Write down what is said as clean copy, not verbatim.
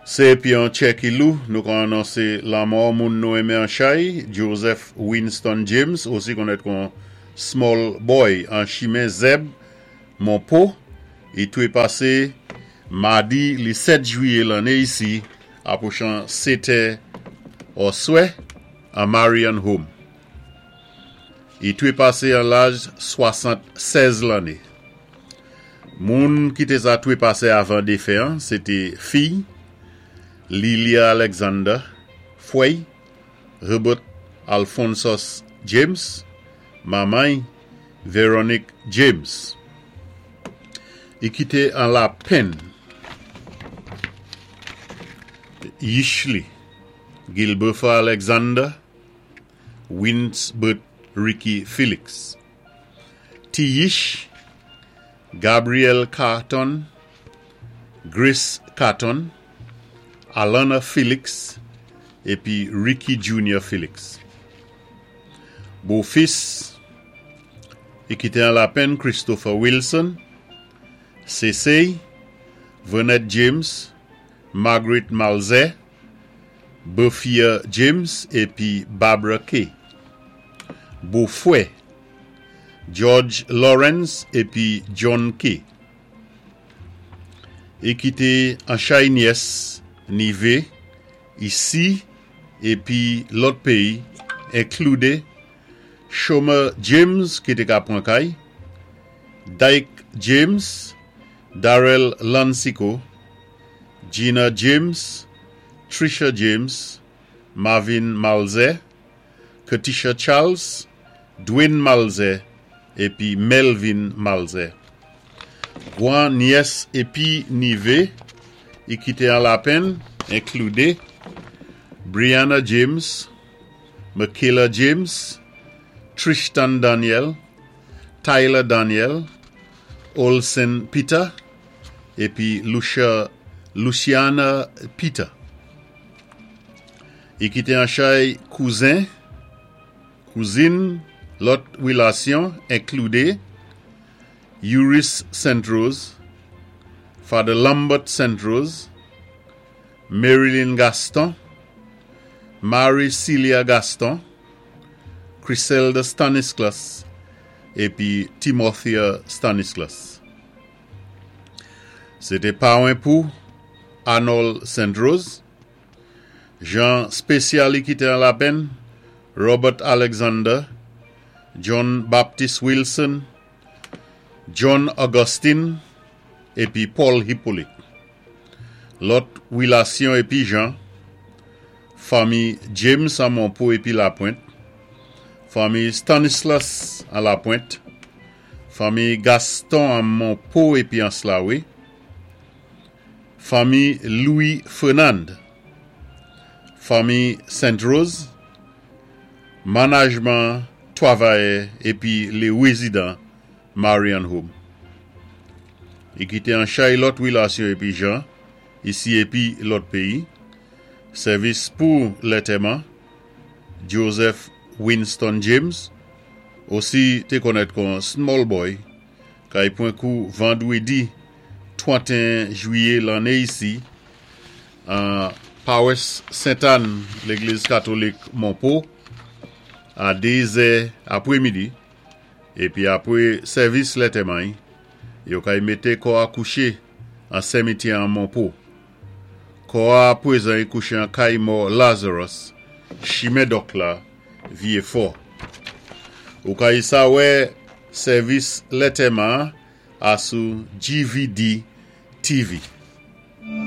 Sé épi an tjè ki lou, nou ka anonsé lanmò moun nou enmen an chay, Joseph Winston James, osi konnèt kon Small Boy an chimen Zèb, Monpo, i twé pasé madi li 7 jwiyé lanné isi apwochan 7 è òswè an Marion Home. I twé pasé an laj 76 lanné. Moun ki té sa twé pasé avan défen an, sé té fiy, Lilia Alexander, fwè'y, Herbert Alphonsus James, manman'y, Veronique James. I kité an lapenn yich li, Gilbertha Alexander, Winsbert Ricky Felix. Ti yich, Gabriel Carton, Grace Carton, Alana Felix épi Ricky Junior Felix. Bofis, i kité an lapenn Christopher Wilson, Sésey, Vernette James, Margaret Malzè, Berthia James épi Barbara Kay. Bofwè, George Lawrence épi John Kay. I kité an chay nyès, nivé, isi épi lòt péyi, inkloudé Shomer James ki té ka pwan kay, Dyke James, Darrell Lansico, Gina James, Trisha James, Marvin Malzè, Kertisha Charles, Dwayne Malzè épi Melvin Malzè. Gwan nyès épi nivé i kité an lapenn inkloudé Brianna James, Michaela James, Tristan Daniel, Tyler Daniel, Olsen Peter épi Lucia, Luciana Peter. I kité an chay kouzen, kouzin, lòt wilasyon inkloudé Uris St. Rose, Father Lambert St. Rose, Marilyn Gaston, Marie Celia Gaston, Criselda Stanislas épi Timothea Stanislas. Sé té pawen pou Arnold St. Rose, Jan spésyal i kité an lapenn, Robert Alexander, John Baptist Wilson, John Augustine épi Paul Hippolyte. Lòt wilasyon épi jan, fanmi James an Monpo épi Lapwent, fanmi Stanislas an Lapwent, fanmi Gaston an Monpo épi Anse-La-Wé, fanmi Louis Fernand, fanmi Saint Rose, manajman twavayè épi lé wézidan Marion Home. I kité an chay lòt wilasyon épi jan, isi épi lòt péyi, sèvis pou lètèman, Joseph Winston James, osi té konnèt kon Small Boy, kay pwan kou vandwédi 31 jwiyé lanné isi an pawès Sent Ann, légliz katolik Monpo, a 2 zè apwémidi, épi apwé sèvis lètèman-y, yo kay mété kò a kouché an senmityè an Monpo. Kò a pwézan-y kouché an kay mò Lazarus, chimen Dòk la, Vyé Fò. Ou kay sa wè sèvis lètèman a sou GVD TV.